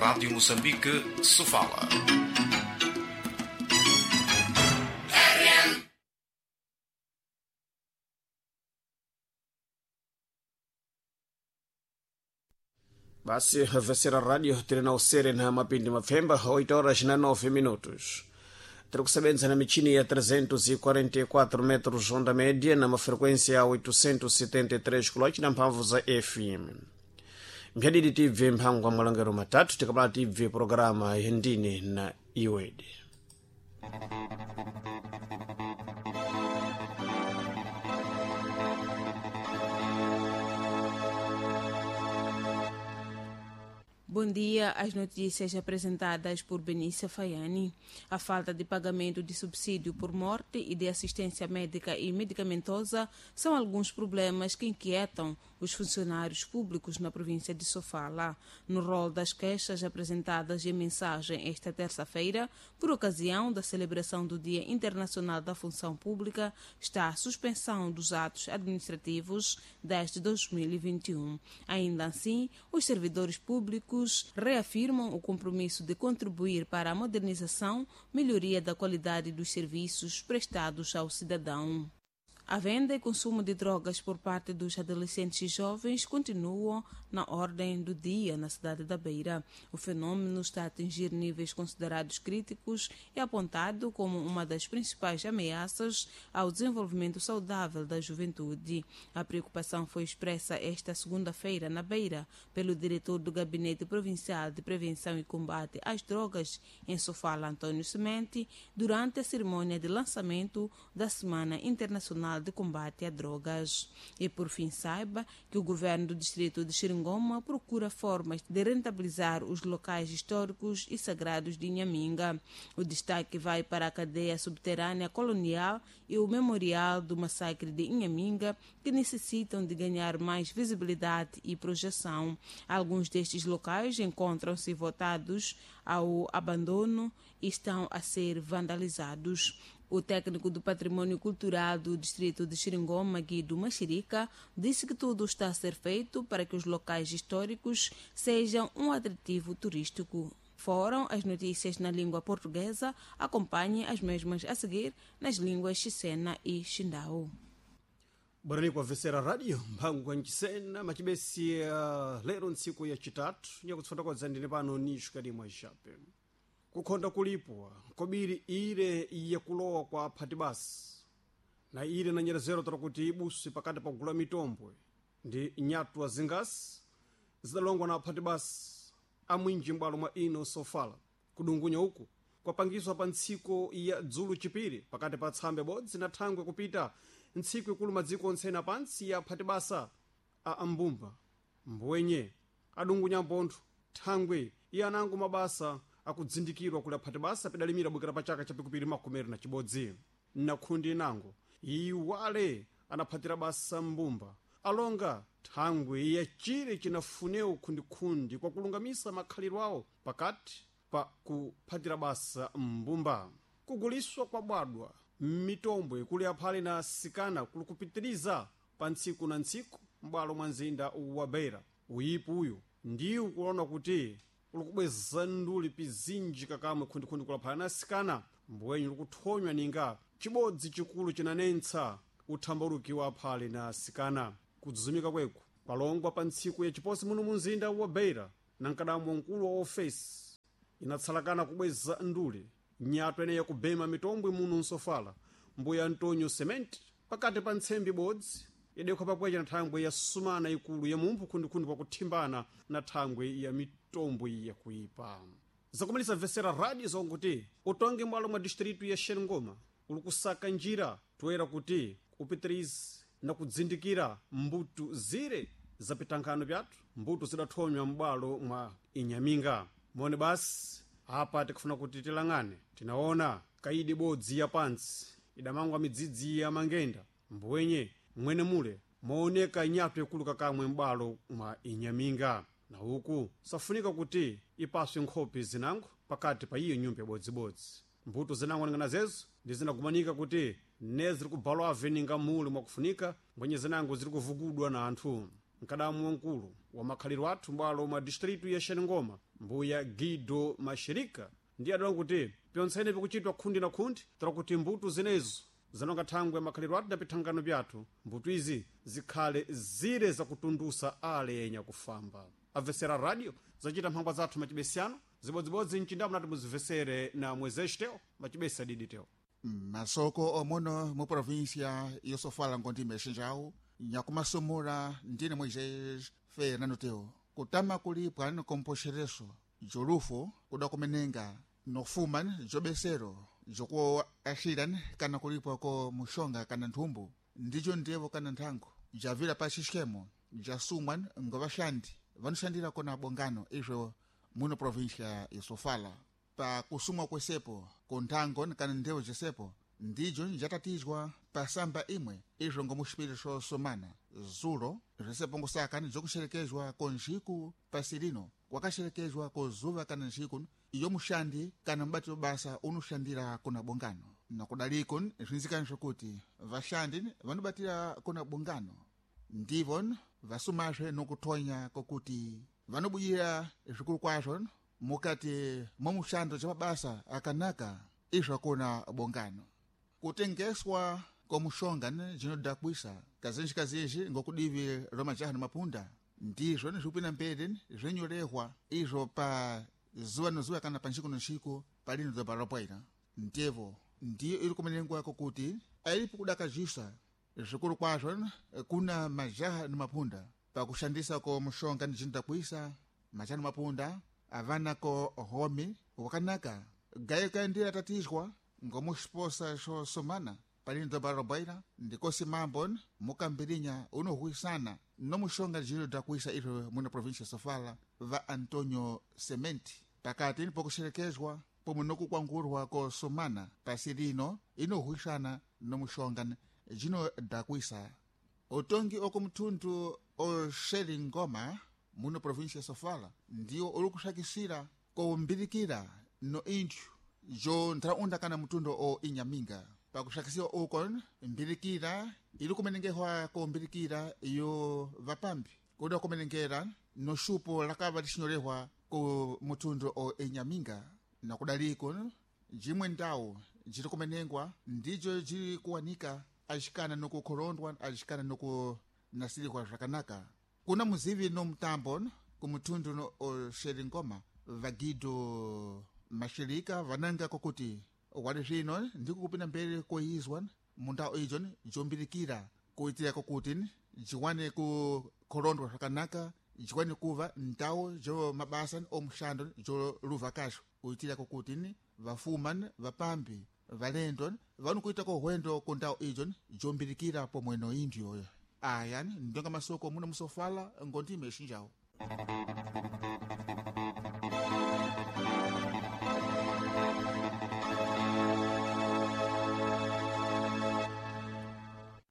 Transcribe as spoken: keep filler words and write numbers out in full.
Rádio Moçambique, Sofala. Basi vesera radio tiri na usere na mapindi mapfemba oito horas na nove minutos. Tiri kusebenza na michini ya trezentos e quarenta e quatro metros onda média na mafrequência ya oitocentos e setenta e três kHz na mphamvu za F M. Mphadidi tibve mphango wa malongero matatu tikapala tibve programa yendine na iwede. Bom dia. As notícias apresentadas por Benícia Faiani. A falta de pagamento de subsídio por morte e de assistência médica e medicamentosa são alguns problemas que inquietam os funcionários públicos na província de Sofala. No rol das queixas apresentadas em mensagem esta terça-feira, por ocasião da celebração do Dia Internacional da Função Pública, está a suspensão dos atos administrativos desde dois mil e vinte e um. Ainda assim, os servidores públicos reafirmam o compromisso de contribuir para a modernização, melhoria da qualidade dos serviços prestados ao cidadão. A venda e consumo de drogas por parte dos adolescentes e jovens continuam na ordem do dia na cidade da Beira. O fenômeno está a atingir níveis considerados críticos e apontado como uma das principais ameaças ao desenvolvimento saudável da juventude. A preocupação foi expressa esta segunda-feira na Beira pelo diretor do Gabinete Provincial de Prevenção e Combate às Drogas em Sofala, Antônio Semente, durante a cerimônia de lançamento da Semana Internacional de Combate a Drogas. E por fim, saiba que o governo do distrito de Xeringoma procura formas de rentabilizar os locais históricos e sagrados de Inhaminga. O destaque vai para a cadeia subterrânea colonial e o memorial do massacre de Inhaminga, que necessitam de ganhar mais visibilidade e projeção. Alguns destes locais encontram-se votados ao abandono e estão a ser vandalizados. O técnico do Patrimônio Cultural do distrito de Xeringoma, Guido Machirica, disse que tudo está a ser feito para que os locais históricos sejam um atrativo turístico. Foram as notícias na língua portuguesa. Acompanhe as mesmas a seguir nas línguas Xisena e Xindau. Bora kwa vesera radio mphango nchisena machibesi uh, lero ntsiku ya chitatu nyakutsfotokoza ndine pano nixukadi mwa xape. Kukhonda kulipwa kobiri ile yakulowa kwa aphati basi na ile na nyerezero tara kuti ibusi pakati pa kugula mitombwe ndi nyatwa zingasi zidalongwa na aphati basi amwinji m'bwalo mwa ino Sofala. Kudungunya uku kwapangiswa pa ntsiko ya dzulu chipiri pakati pa tsambe bodzi na thangwe kupita ntsiku ikulu madziko onse pansi ya aphati basa a ambumba mbwenye adungunya mpontho thangwe iye anango mabasa akudzindikirwa kuli aphati basa pidalimira bwekera pa chaka chapikupiri makumeri na chibodzi. Na khundi inango iwale anaphatira basa mbumba alonga thangwe ya chire chinafunewo khundikhundi kwakulungamisa makhaliro awo pakati pa kuphatira basa mbumba. Kuguliswa kwa bwadwa mitombwe kuli aphale na sikana kuli kupitiriza pa ntsiku na ntsiku m'bwalo mwa mzinda wa Beira. Uyipu uyu ndiwo kulona kuti ulikubweza nduli pizinji kakamwe khundikhundi kulaphana na sikana mbwenyu likuthonywa ninga chibodzi chikulu chinanentsa uthambauluki wa aphale na sikana. Kudzuzumika kweku kwalongwa pa ntsiku ya chiposi muno mu mzinda wa Beira na mkadambo mkulu wa ofesi inatsalakana kubweza nduli nyatwa ineyi yakubema mitombwe muno nsofala mbuya Antonio Cement pakati pa ntsembi bodzi idekwa pakwecha na thangwe ya sumana ikulu ya mumphu khundikhundi kwakuthimbana na thangwe ya mitombwe yakuipa. Zakumalisa vesera radio zonkuti utonge mwalo mwa distritu ya Xeringoma uli kusaka njira toera kuti upitirize na kudzindikira mbuto zire za pitankhano pyathu mbuto zidathonywa m'bwalo mwa Inhaminga. Mone basi apa tikufuna kuti tilang'ane tinaona kaidi bodzi ya pansi idamangwa midzidzi ya mangenda mbwenye mwene mule mooneka nyatwa ikulu kakamwe m'bwalo mwa Inhaminga. Na uku safunika kuti ipaswe nkhope zinango pakati pa iyo nyumba yabodzibodzi. Mbuto zinango ningana zezo ndi zinagumanika kuti ne ziri kubalwa aveninga mule mwakufunika mbwenye zinango ziri kuvugudwa na anthu. Nkadamu wankulu wa makhaliro athu mbwalo mwa distritu ya Xaningoma, mbuya Guido Mashirika, ndiye adala kuti pyontsene pikuchitwa khundi na khundi tala kuti mbuto zinezo zanonga thangwe makhaliro athu na pithangano pyathu, mbuto izi zikhale zire zakutundusa ale yenya kufamba. Amvesera radio zacita mphangwa zathu macibesiyano zibodzibodzi mcindamo nati muzivesere na mwezexiteo macibesi adiditeo. Masoko omono mu província yosofala ngondime xinjawu nyakumasomora ndine Moisés Fernando Teo. Kutama kulipwa nikompoxereso jolufo kuda kumenenga nofuma jobesero jokuaxira kana kulipwa ko muxonga kana nthumbu ndijo ndevo kana nthango javila pa xixemo jasumwa ngovaxandi vanuxandira kona bongano izvo muno província yosofala. Pa kusumwa kwesepo kunthango kana ndevo jesepo ndijo njatatizwa pa samba imwe izvo ngomuxipiri xosomana zulo zvesepo ngosaka jokuxerekezwa konxiku pasirino kwakaxerekezwa kozuva kana nxiku iyo muxandi kana mubati wa basa unuxandira kuna bongano. Nakudaliko zvinzikana zvokuti vaxandi vanobatira kuna bongano ndivo vasumazve nokuthonya kokuti vanobudira zvikuru kwazvo mukati mwa muxando ca mabasa akanaka izvo akuna bongano. Kutengeswa kwa muxonga jinodakwisa kazinji kazinji ngokudivi ro majaha na mapunda ndizvo nizvikupinda mberi zvinyorehwa izvo pa zuwa no zuwa kana pa nxiku no nxiku palino doba ropwaira. Ndevo ndiyo iri kumenengwa kokuti ailipo kudakajisa zvikuru kwazvo kuna majaha na mapunda pakushandisa ko muxonga jinodakwisa. Majaha na mapunda avana ko homi wakanaka gayo kaendera tatizwa ngomuxiposa xosomana palino doba robaira ndikosi mambo mukambirinya unohuisana nomuxonga jinodakwisa izvo muno província Sofala va Antonio Sementi pakati pokuxerekezwa pomwe nokukwangurwa kosomana pasi lino inohuisana nomuxonga jinodakwisa. Utongi okumthundu oxeringoma muno província Sofala ndiwo uli kuxakisira kombilikira no inthu jo ntharaunda kana mutundo o inyaminga. Pakuxakisiwa uko mbilikira ili kumenengehwa kombilikira yo vapambi kuda kumenengera no xupo lakava lixinyorehwa ku mutundo o inyaminga. Nakudaliko jimwe ndawu jiri kumenengwa ndijo jiri kuwanika axikana nokukhorondwa axikana nokunasirihwa zvakanaka. Kuna muzivi no mutambo kumutundu no oxeringoma vagido mashirika vananga kokuti wali zvino ndiko kupinda mberi koizwa mundau ijo jombilikira kuitira kokuti jiwane kukhorondwa zvakanaka jiwane kuva ndau jo mabasa omuxando jo luva kaxo kuitira kokuti vafuma vapambi valendo vanokuita kohwendo kundau ijo jombilikira pomwe no indio. Aya ndonga masoko muno musofala ngondime xinjawo.